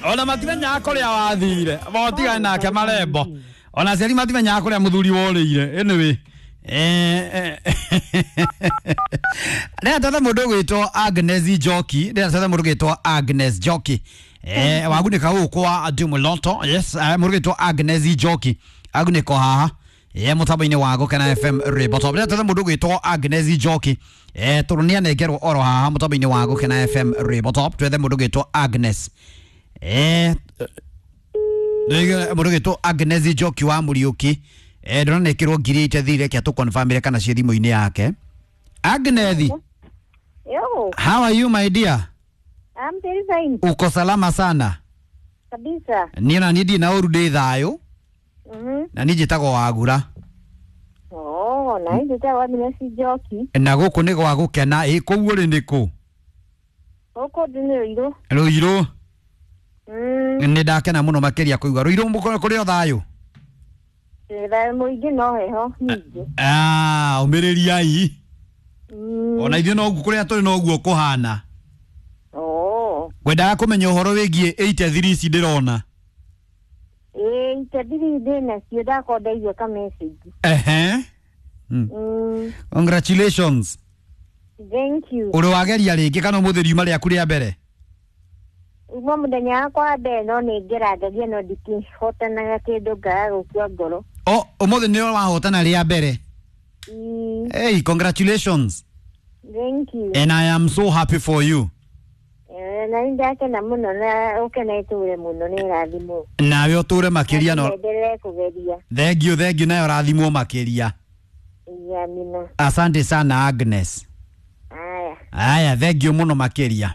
Ona matimenyaga kũrĩa wathire. Motigane nake marembo. Ona aciari matimenyaga kũrĩa mũthuri worĩire. Anyway. Ndĩra mũndũ ũgwĩtwo Agnes Njoki, ndĩra mũndũ ũgwĩtwo Agnes Njoki. Wagunĩka gũkũ kwa Dumuloto. Yes, mũndũ ũgwĩtwo Agnes Njoki. Agunĩka haha. Mũtambo-inĩ wa Gũkena FM Rĩmbo Top. Ndĩra mũndũ ũgwĩtwo Agnes Njoki. Tondũ nĩ anengerwo oro haha mũtambo-inĩ wa Gũkena FM Rĩmbo Top. Twethe mũndũ ũgwĩtwo Agnes. Mũndũ ũgwĩtwo Agnes Njoki wa Mũriũki. Ndĩronekĩrwo ngiri itethire reke tũkonfirmire kana ciĩ thimũ-inĩ yake. Agnes, Yo, how are you my dear? I'm very fine Uko salama sana? kabisa. Niĩ na niĩ ndirĩ na ũru, ndĩ thayũ. Na niĩ njĩtagwo Wagura. Oh, na hizi ta Agnes Njoki. Na gũkũ nĩ gwa Gũkena. Ĩ kũu ũrĩ nĩ kũ? Huko ndĩ Ruiru. Ruiru. Nĩ ndakena mũno makĩria kũigua Ruiru kũrĩ o thayũ. Thayũ mũingĩ no heho nyingĩ. Ah, ũmĩrĩriai. Ona ithuĩ noguo kũrĩa tũrĩ noguo kũhana. Oh. Ngwendaga kũmenya ũhoro wĩgiĩ 83 ici ndĩrona. Ĩĩ, itethiri ndĩ nacio ndakorwo ndaigua ka message. Ehe. Congratulations. Thank you. Ũrĩ wageria rĩngĩ kana ũmũthĩ riuma rĩaku rĩa mbere? Uma mũthenya wakwa wa mbere no nĩ ngeragagia no ndikĩhotanaga kĩndũ ngaga gũkua ngoro. O, ũmũthĩ nĩwe wahotana rĩa mbere. Hey, congratulations. Thank you. And I am so happy for you. Na nĩ ndakena mũno na ũkena ĩtũre mũno nĩ ĩrathimwo. Nawe ũtũre makĩria no. Endelee kũgeria. Thank you, thank you, nawe ũrathimwo makĩria. Amina. Asante sana Agnes. Aya, Aya, thank you mũno makĩria.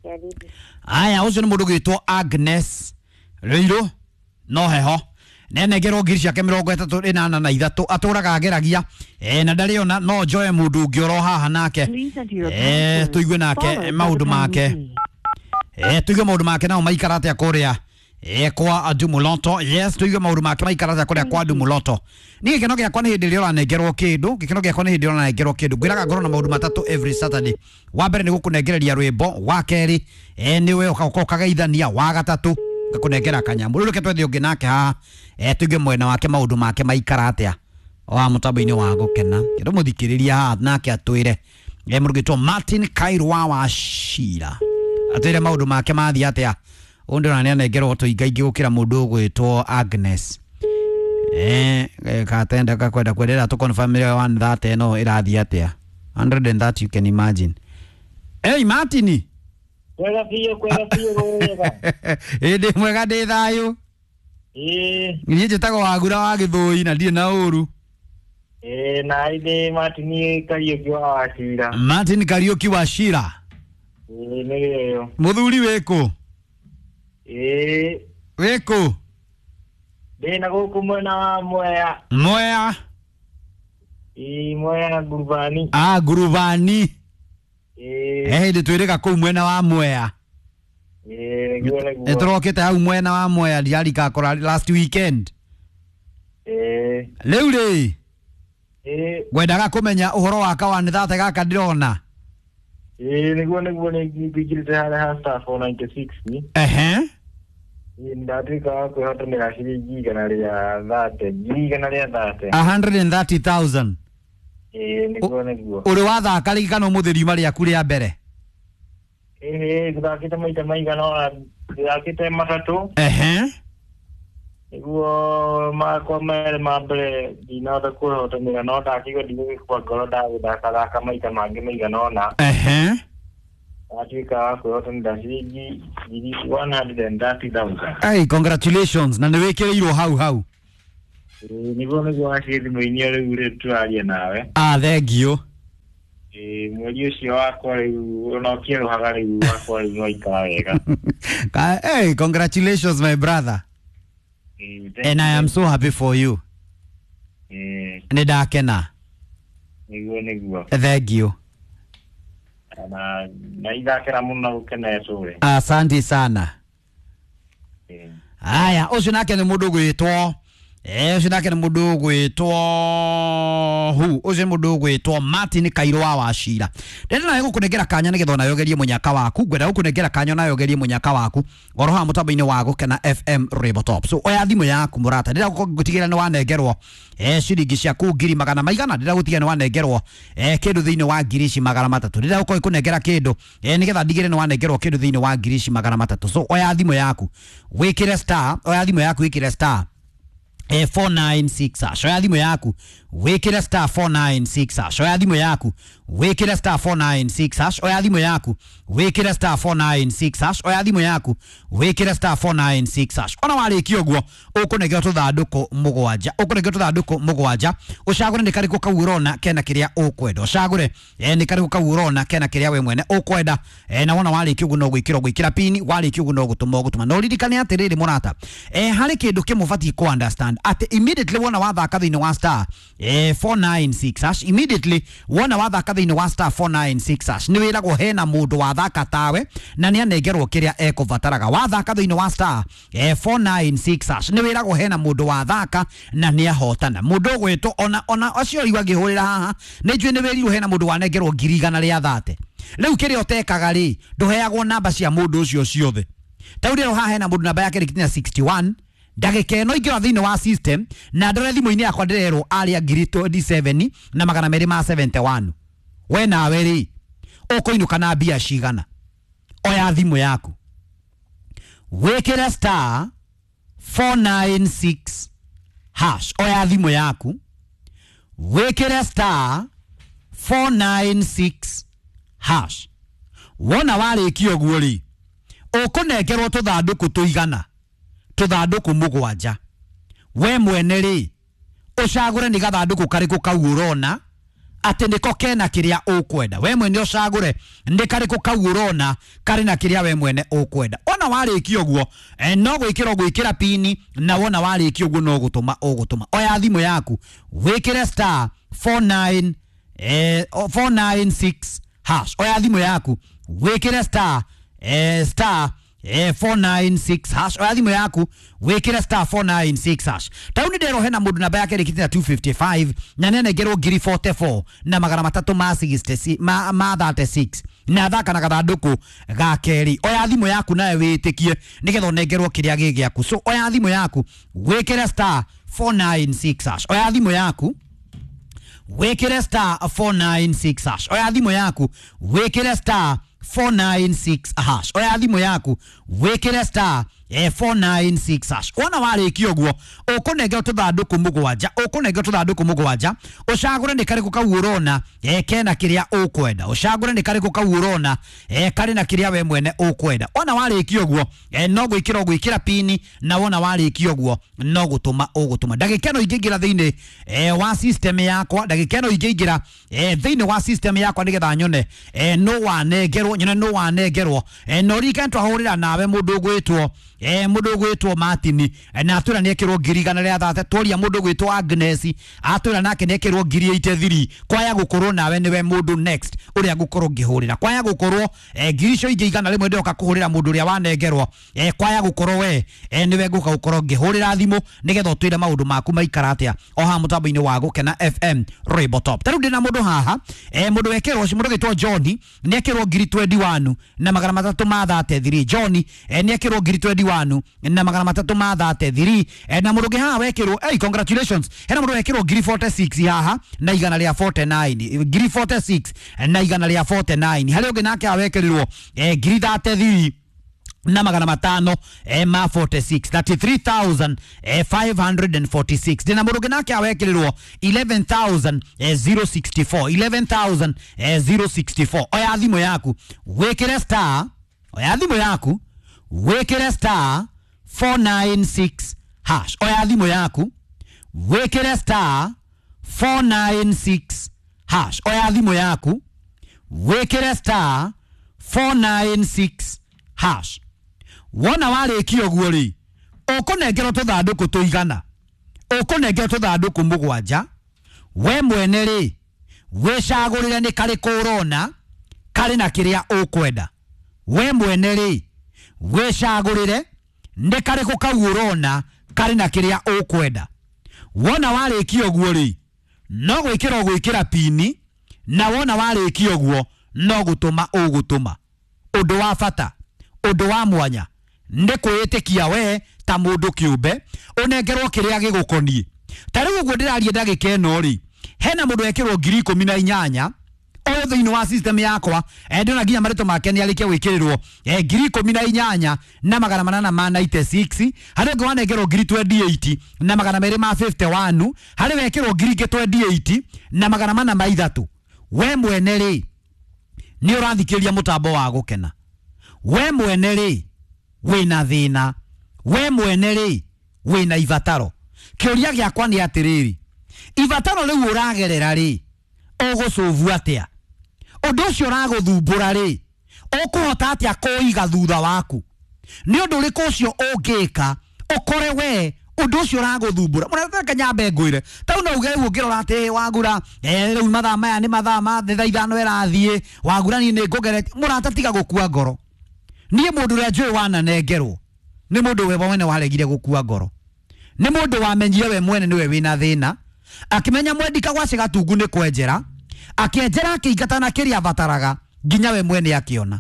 karibu. Aya, ũcio nĩ mũndũ ũgwĩtwo Agnes Rĩirũ no heho nenengerwo ngiri ciake 33 atũraga ageragia na ndarĩ ona no njoe mũndũ ũngĩ oro haha nake. Please enter your password, Tũigue nake followed by maũndũ the pound make. key. Tũigue maũndũ make nao maikara atĩa kũrĩa kwa Dumuloto. Yes, tũigue maũndũ make maikara atĩa kũrĩa kwa Dumuloto. Niĩ gĩkeno gĩakwa nĩ hĩndĩ ĩrĩa ũranengerwo kĩndũ, gĩkeno gĩakwa nĩ hĩndĩ ĩrĩa ũranengerwo kĩndũ. Ngwĩraga ngorwo na maũndũ matatũ every Saturday. Wa mbere nĩ gũkũnengereria rwĩmbo, wa kerĩ nĩwe ũgoka ũkageithania, wa gatatũ ngakũnengera kanyamũ. Rĩu reke twethe ũngĩ nake haha, tũigue mwena wake maũndũ make maikara atĩa wa mũtambo-inĩ wa Gũkena. Kĩndũ mũthikĩrĩria haha nake atwĩre. Mũndũ ũgwĩtwo Martin Kairwa wa Shira atwĩre maũndũ make mathiĩ atĩa. Ũyũ ndĩrona nĩ anengerwo tũingaingĩ gũkĩra mũndũ ũgwĩtwo Agnes. Katenda kakwenda kwendera tũ confirm ĩrĩa 130 ĩno ĩrathiĩ atĩa. 130 you can imagine. Hey Martin. Kwega biũ, kwega biũ wega. Ĩ ndĩ mwega, ndĩ thayũ. Ĩĩ, Niĩ njĩtagwo Wagura wa Gĩthũi na ndirĩ na ũru. ĩĩ, na ndĩ Martin Kariũki wa Wachira. Martin Kariũki wa Shira. Ĩĩ, nĩyo. Mũthuri wĩkũ? Ĩĩ, Wĩkũ? ndĩ na gũkũ mwena wa Mwea. Mwea. Ĩĩ, Mwea Ngurubani. Ah, Ngurubani. Ĩĩ, Hĩndĩ twĩrĩga kũu mwena wa Mwea. ĩĩ, nĩguo nĩguo. Nĩ tũrokĩte hau mwena wa Mwea ndiarikakora last weekend. Ĩĩ, Rĩu rĩ, ĩĩ, ngwendaga kũmenya ũhoro wa kawanĩ thate gaka ndĩrona. ĩĩ, nĩguo nĩguo nĩ ngingĩrĩte harĩa ha star 496. Ehe. Ĩĩ, ndatuĩka wa kwĩhotanĩra ciringi 130, ngiri 130. 130,000. Ĩĩ, nĩguo nĩguo. Ũrĩ wathaka rĩngĩ kana ũmũthĩ riuma rĩaku rĩa mbere? Ĩĩ, ngũthakĩte maita maigana ũna, ngũthakĩte matatũ. Ehe. Nĩguo makwa merĩ ma mbere ndinahota kwĩhotanĩra no ndakĩigua ndigũgĩkua ngoro ndagũthakathaka maita mangĩ maigana ũna. Ehe. Ndatuĩka wa kwĩhotanĩra ciringi ngiri 130,000. Hey, congratulations na nĩ wĩkĩrĩirwo hau hau. Ĩĩ, nĩguo nĩguo waciĩ thimũ-inĩ rĩu rĩ tũraria nawe. Ah, thank you. Ĩĩ, mweri ũcio wakwa rĩu ona ũkĩerũhaga rĩu wakwa rĩu nĩwaikara wega. Hey, congratulations my brother. Ĩĩ, thank And I am you. so happy for you. Ĩĩ, Nĩ ndakena. nĩguo nĩguo. Thank you. Na ithakĩra mũno gũkena ĩtũre. Asante sana. Ĩĩ. Aya, ũcio nake nĩ mũndũ ũgwĩtwo Ũcio nake nĩ mũndũ ũgwĩtwo hu ũcio nĩ mũndũ ũgwĩtwo Martin Kairũ wa Wacira. Ndĩrenda nawe gũkũnengera kanya nĩgetha onawe ũgerie mũnyaka waku. Ngwenda gũkũnengera kanya onawe ũgerie mũnyaka waku oro haha mũtambo-inĩ wa Gũkena FM Rainbow Top. So oya thimũ yaku mũrata, ndĩrenda gũtigĩrĩra nĩ wanengerwo ciringi ciaku ngiri magana maigana. Ndĩrenda gũtigĩrĩra nĩ wanengerwo kĩndũ thĩinĩ wa ngiri ici magana matatũ. Ndĩrenda gũkorwo ngĩkũnengera kĩndũ nĩgetha ndigĩrĩre nĩ wanengerwo kĩndũ thĩinĩ wa ngiri ici magana matatũ. So oya thimũ yaku wĩkĩre star, oya thimũ yaku wĩkĩre star 496 hash. Oya thimũ yaku wĩkĩre star 496 hash. Oya thimũ yaku wĩkĩre star 496 hash. Oya thimũ yaku wĩkĩre star 496 hash. Oya thimũ yaku wĩkĩre star 496 hash. Ona warĩkia ũguo ũkũnengerwo tũthandũkũ mũgwanja, ũkũnengerwo tũthandũkũ mũgwanja, ũcagũre nĩ karĩkũ kau ũrona kena kĩrĩa ũkwenda, ũcagũre nĩ karĩkũ kau ũrona kena kĩrĩa we mwene ũkwenda. Na wona warĩkia ũguo no gwĩkĩra ũgwĩkĩra pini, warĩkia ũguo no gũtũma ũgũtũma. Na ũririkane atĩrĩrĩ mũrata, harĩ kĩndũ kĩmwe ũbatiĩ kũ understand atĩ immediately wona wathaka thĩinĩ wa star 496 hash, immediately wona wathaka thĩinĩ wa star 496 hash nĩ wĩragwo hena mũndũ wathaka tawe na nĩ anengerwo kĩrĩa ekũbataraga. Wathaka thĩinĩ wa star 496 hash nĩ wĩragwo hena mũndũ wathaka na nĩ ahotana. Mũndũ ũgwĩtwo ona acio rĩu angĩhũrĩra haha nĩ njũĩ nĩ wĩrirwo hena mũndũ wanengerwo ngiri igana rĩa thate. Rĩu kĩrĩa ũtekaga rĩ, ndũheagwo namba cia mũndũ ũcio ciothe. Ta rĩu haha hena mũndũ namba yake ĩrĩkinya 61 ndagĩka ĩno ingĩra thĩinĩ wa system na ndore thimũ-inĩ yakwa ndĩrerwo arĩa ngiri 27 na magana merĩ ma 71. We nawe rĩ ũkũinũka na mbia cigana? Oya thimũ yaku wĩkĩre star 496 hash. Oya thimũ yaku wĩkĩre star 496 hash. Wona warĩkia ũguo rĩ, ũkũnengerwo tũthandũkũ tũigana tũthandũkũ mũgwanja. We mwene rĩ ũcagũre nĩ gathandũkũ karĩkũ kau ũrona atĩ nĩko kena kĩrĩa ũkwenda. We mwene ũcagũre nĩ karĩkũ kau ũrona karĩ na kĩrĩa we mwene ũkwenda. Ona warĩkia ũguo no gwĩkĩra ũgwĩkĩra pini, na wona warĩkia ũguo no gũtũma ũgũtũma. Oya thimũ yaku wĩkĩre star 496 hash. Oya thimũ yaku wĩkĩre star star 496 hash. Oya thimũ yaku wĩkĩre star 496 hash. Tau nĩ nderwo hena mũndũ namba yake ĩrĩkĩte na 255 na nĩanengerwo ngiri 44 na magana matatũ ma 66 ma 36 na athaka na gathandũkũ ga kerĩ. Oya thimũ yaku nawe wĩtĩkie nĩgetha ũnengerwo kĩrĩa gĩ gĩaku. So oya thimũ yaku wĩkĩre star 496 hash. Oya thimũ yaku wĩkĩre star 496 hash. Oya thimũ yaku wĩkĩre star 496 hash. Oya thimũ yaku wĩkĩre star 496 hash. Wona warĩkia ũguo ũkũnengerwo tũthandũkũ mũgwanja, ũkũnengerwo tũthandũkũ mũgwanja, ũcagũre nĩ karĩkũ kau ũrona kena kĩrĩa ũkwenda, ũcagũre nĩ karĩkũ kau ũrona karĩ na kĩrĩa we mwene ũkwenda. Wona warĩkia ũguo no gwĩkĩra ũgwĩkĩra pini, na wona warĩkia ũguo no gũtũma ũgũtũma. Ndagĩka ĩno ingĩingĩra thĩinĩ wa system yakwa, ndagĩka ĩno ingĩingĩra thĩinĩ wa system yakwa nĩgetha nyone no wanengerwo, nyone no wanengerwo. No ririkane twahũrĩra nawe mũndũ ũgwĩtwo mũndũ ũgwĩtwo Martin na atwĩra nĩekĩrwo ngiri igana rĩa thate. Tworia mũndũ ũgwĩtwo Agnes atwĩra nake nĩekĩrwo ngiri 83. Kwaya gũkorwo nawe nĩwe mũndũ next ũrĩa ngũkorwo ngĩhũrĩra. Kwaya gũkorwo ngiri icio ingĩ igana rĩmwe ndĩroka kũhũrĩra mũndũ ũrĩa wanengerwo. Kwaya gũkorwo we nĩwe ngũka gũkorwo ngĩhũrĩra thimũ nĩgetha ũtwĩre maũndũ maku maikara atĩa o haha mũtambo-inĩ wa Gũkena FM Rainbow Top. Ta rĩu ndĩna mũndũ haha mũndũ wekĩrwo mũndũ ũgwĩtwo John nĩekĩrwo ngiri 21 na magana matatũ ma 33. John nĩekĩrwo ngiri 21 na magana matatũ ma 33. Na mũndũ ũngĩ haha wekĩrwo, hey, congratulations, hena mũndũ wekĩrwo ngiri 46 haha na igana rĩa 49, ngiri 46 na igana rĩa 49. Harĩ ũngĩ nake haha wekĩrirwo ngiri 33 na magana matano ma 46, 33,546. Ndĩna mũndũ ũngĩ nake awekĩrĩrwo 11,064, 11,064. Oya thimũ yaku wĩkĩre star, oya thimũ yaku wĩkĩre star 496 hash. Oya thimũ yaku wĩkĩre star 496 hash. Oya thimũ yaku wĩkĩre star 496 hash. Wona warĩkia ũguo rĩ, ũkũnengerwo tũthandũkũ tũigana, ũkũnengerwo tũthandũkũ mũgwanja. We mwene rĩ wĩcagũrĩre nĩ karĩkũ ũrona karĩ na kĩrĩa ũkwenda. We mwene rĩ wĩcagũrĩre nĩ karĩkũ kau ũrona karĩ na kĩrĩa ũkwenda. Wona warĩkia ũguo rĩ, no gwĩkĩra ũgwĩkĩra pini, na wona warĩkia ũguo no gũtũma ũgũtũma. Ũndũ wa bata, ũndũ wa mwanya nĩ kwĩĩtĩkia we ta mũndũ kĩũmbe ũnengerwo kĩrĩa gĩgũkoniĩ. Ta rĩu ũguo ndĩraria ndagĩka ĩno rĩ, hena mũndũ wekĩrwo 18,000 o thĩinĩ wa system yakwa. Ndĩrona nginya marĩtwa make nĩ arĩkia gwĩkĩrĩrwo 18,896. Harĩ ũngĩ wanengerwo 28,251. Harĩ wekĩrwo 28,403. We mwene rĩ, nĩ ũrathikĩrĩria mũtambo wa gũkena. We mwene rĩ, wĩna thĩna. We mwene rĩ, wĩna ibataro. Kĩũria gĩakwa nĩ atĩrĩrĩ, ibataro rĩu ũragerera rĩ, ũgũcũvu atĩa? Ũndũ ũcio ũragũthumbũra rĩ, ũkũhota atĩa kũiga thutha waku? Nĩ ũndũ ũrĩkũ ũcio ũngĩka ũkore we ũndũ ũcio ũragũthumbũra? Mũrata nyambe ngwĩre, tau no uge rĩu ũngĩrora atĩ wagura, rĩu mathaa maya nĩ mathaa ma thaa 5 ĩrathiĩ, wagura niĩ nĩ ngũgeretie. Mũrata tiga gũkua ngoro. Niĩ mũndũ ũrĩa njũĩ wananengerwo nĩ mũndũ we mwene waregire gũkua ngoro. Nĩ mũndũ wamenyire we mwene nĩwe wĩna thĩna, akĩmenya mwendika gwa Gatungu nĩ kwenjera, akĩenjera akĩingata na kĩrĩa abataraga nginya we mwene akĩona.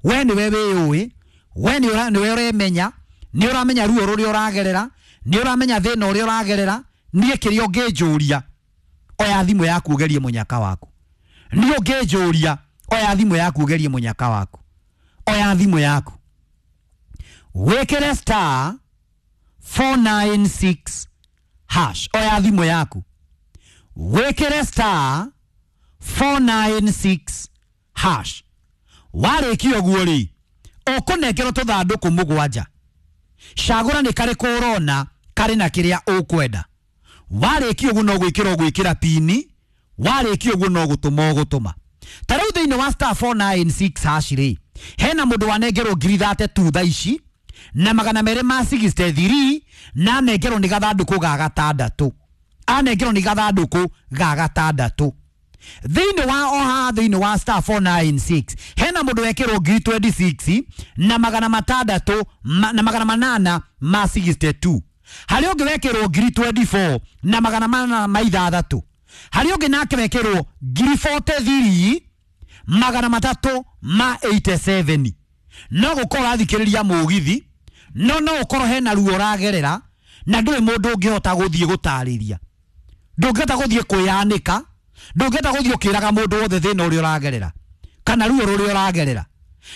We nĩwe wĩyũĩ, we nĩwe ũremenya, nĩ ũramenya ruo rũrĩa ũragerera, nĩ ũramenya thĩna ũrĩa ũragerera. Niĩ kĩrĩa ũngĩnjũria, oya thimũ yaku ũgerie mũnyaka waku. Niĩ ũngĩnjũria, oya thimũ yaku ũgerie mũnyaka waku. Oya thimũ yaku wĩkĩre star 496 hash. Oya thimũ yaku wĩkĩre star 496 hash. Warĩkia ũguo rĩ, ũkũnengerwo tũthandũkũ 7. Cagũra nĩ karĩkũ ũrona karĩ na kĩrĩa ũkwenda. Warĩkia ũguo no gwĩkĩra ũgwĩkĩra pini, warĩkia ũguo no gũtũma ũgũtũma. Ta rĩu thĩinĩ wa star 496 hash rĩ, hena mũndũ wanengerwo 32,000 thaa ici na 263, na anengerwo nĩ gathandũkũ ga gatandatũ. Anengerwo nĩ gathandũkũ ga gatandatũ. Thĩinĩ wa oha thĩinĩ wa star 496 hena mũndũ wekĩrwo 26,600 na 862. Harĩ ũngĩ wekĩrwo 24,406. Harĩ ũngĩ nake wekĩrwo 43,387. No gũkorwo ũrathikĩrĩria mũgithi, no ũkorwo hena ruo ũragerera na ndũrĩ mũndũ ũngĩhota gũthiĩ gũtarĩria. Ndũngĩhota gũthiĩ kwĩyanĩka, ndũngĩhota gũthiĩ ũkĩraga mũndũ wothe thĩna ũrĩa ũragerera kana ruo rũrĩa ũragerera.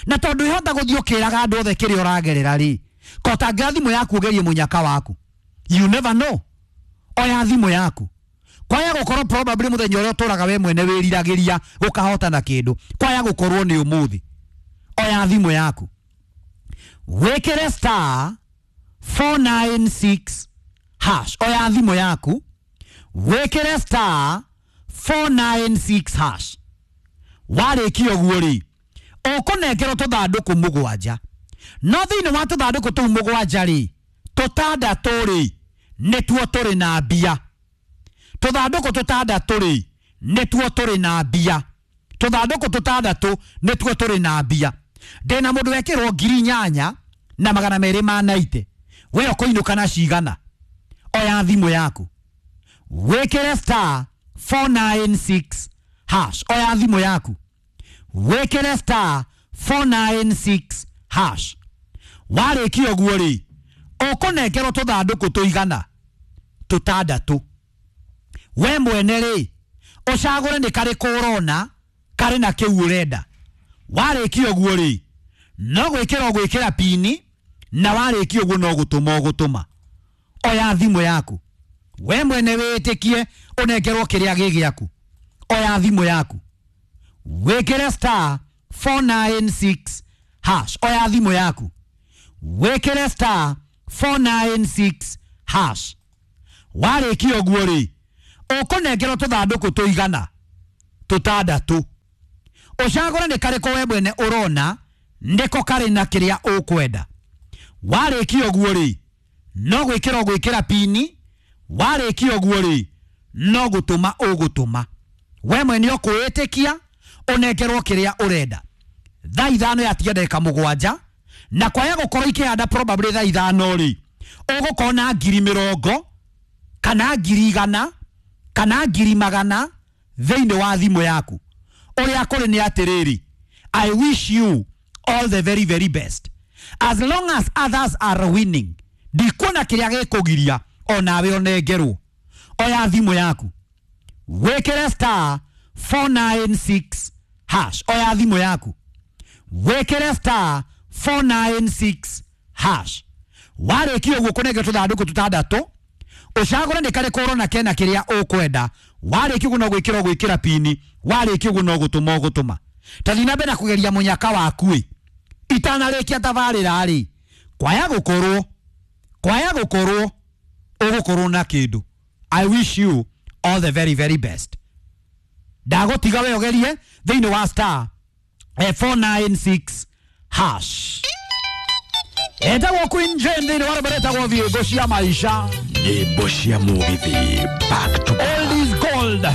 Na tondũ ũhota gũthiĩ ũkĩraga andũ othe kĩrĩa ũragerera rĩ, kotangĩra thimũ yaku ũgerie mũnyaka waku. You never know. Oya thimũ yaku. Kwaya gũkorwo probably mũthenya ũrĩa ũtũraga we mwene wĩriragĩria gũkahota na kĩndũ, kwaya gũkorwo nĩ ũmũthĩ. Oya thimũ yaku wĩkĩre star 496 hash. Oya thimũ yaku wĩkĩre star 496 hash. Warĩkia ũguo rĩ, ũkũnengerwo tũthandũkũ 7. No thĩinĩ wa tũthandũkũ tũu 7 rĩ, tũtandatũ rĩ nĩtuo tũrĩ na mbia. Tũthandũkũ tũtandatũ rĩ nĩtuo tũrĩ na mbia. Tũthandũkũ tũtandatũ nĩtuo tũrĩ na mbia. Ndĩna mũndũ wekĩrwo 8,290. We ũkũinũka na cigana? Oya thimũ yaku wĩkĩre star 496 hash. Oya thimũ yaku wĩkĩre star 496 hash. Warĩkia ũguo rĩ, ũkũnengerwo tũthandũkũ tũigana tũtandatũ. We mwene rĩ, ũcagũre nĩ karĩkũ ũrona karĩ na kĩu ũrenda. Warĩkia ũguo rĩ, no gwĩkĩra ũgwĩkĩra pini, na warĩkia ũguo no gũtũma ũgũtũma. Oya thimũ yaku we mwene wĩtĩkie ũnengerwo kĩrĩa gĩ gĩaku. Oya thimũ yaku wĩkĩre star 496 hash. Oya thimũ yaku wĩkĩre star 496 hash. Warĩkia ũguo rĩ, ũkũnengerwo tũthandũkũ tũigana tũtandatũ. Ũcagũre nĩ karĩkũ we mwene ũrona nĩko karĩ na kĩrĩa ũkwenda. Warĩkia ũguo rĩ, no gwĩkĩra ũgwĩkĩra pini, warĩkia ũguo rĩ, no gũtũma ũgũtũma. We mwene ũkwĩĩtĩkia ũnengerwo kĩrĩa ũrenda. Thaa 5 yatiga ndagĩka 7, na kwaya gũkorwo ikĩhanda probably thaa 5 rĩ, ũgũkorwo na 20,000 Kana 100,000 kana 100,000 thĩinĩ wa thimũ yaku. Ũrĩa kũrĩ nĩ atĩrĩrĩ, I wish you all the very very best. As long as others are winning, ndikuona kĩrĩa gĩkũgiria onawe ũnengerwo. Oya thimũ yaku wĩkĩre star 496 hash. Oya thimũ yaku wĩkĩre star 496 hash. Warĩkia ũguo kũnengera tũthandũkũ tũtandatũ, ũcagũre nĩ karĩkũ ũrona kena kĩrĩa ũkwenda. Warĩkia ũguo no gwĩkĩra ũgwĩkĩra pini, warĩkia ũguo no gũtũma ũgũtũma. Ta thiĩ na mbere na kũgeria mũnyaka waku ĩ, itanarĩkia tabarĩra rĩ, kwaya gũkorwo, kwaya gũkorwo ũgũkorwo na kĩndũ. I wish you all the very very best. Ndagũtiga we ũgerie thĩinĩ wa star 496 hash. Etagwo Queen Jane thĩinĩ wa rwĩmbo rwĩtagwo Thiĩngũ cia Maisha. Nyĩmbo cia mũgithi back to back. All is gold.